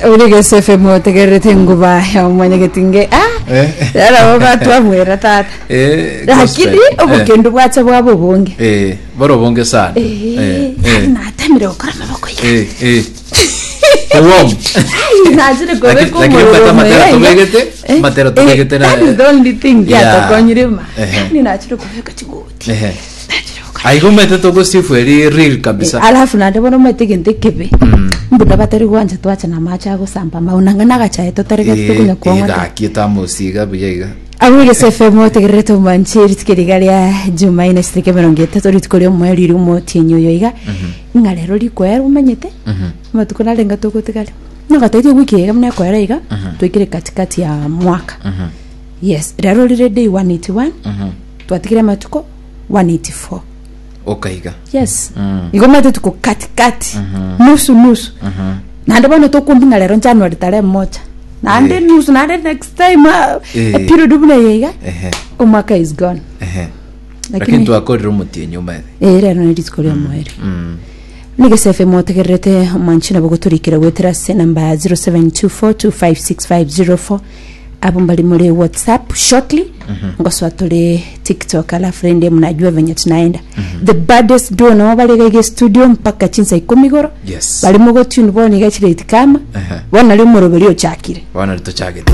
Ore Gese FM otegererete enguba ya omwanyagetinge ah Eh. rero batwamwera tata Eh, lakini gospel. Eh. obokendu bwacha bwaba obonge Eh, bore obonge sana Eh, Eh, eh, natamire gokora amaboko iga eh, eh. Ewom. Ai, nachire Lakini- kobeka lakini omorero mbata matera omuya iga. tobegete, Eh, matera eh, tobegete na- that is the only thing Yeah. yatokonyire ma Ehe. yani nachire kobeka chigoti Ehe. nachire gokora Aigo omanyete togosifu eri real kabisa. alafu naende bono omanyete egento ekebe mbuda batari gwancha twacha na amache agosamba amao nanga nagachae totaregete Eh, tokonya eh, kwang'ata gaki etamosi iga buya iga. Abwo Egese FM otegererete omwanche rituko riga ria Jumaine chitariki emerongo etato rituko ria omoerio riria omotienyi oyo iga ng'a rero rikoera omanyete amatuko narenga togotigara nogotebia ewiki eye buna ekoera iga twaikire katikati ya mwaka yes rero rire day 181 twatigire amatuko 184 Okaiga. yes igo omanyete tuko katikati nusu nusu naende bono tokumbi ng'a rero January tarehe moja naende Eh. nusu naende next time ah, Eh. eperiod buna eye iga Ehe. omwaka is gone Ehe. Lakini lakini twakorire omotienyi omanyete. eh rero ne rituko ria omoerio Nigese FM otegererete omwanchi nabo gotorikera goetera ase namba ya 0724256504 abo mbari muri whatsapp shortly ngosoa tore tiktok alafu rende mnajua venye tunaenda the baddest duo nabo bare iga iga studio mpaka chinsa ikumi igoro Yes. bari mogotune bono iga chireti kama Ehe. bono nari omoroberi ochakire Bono ritochagete.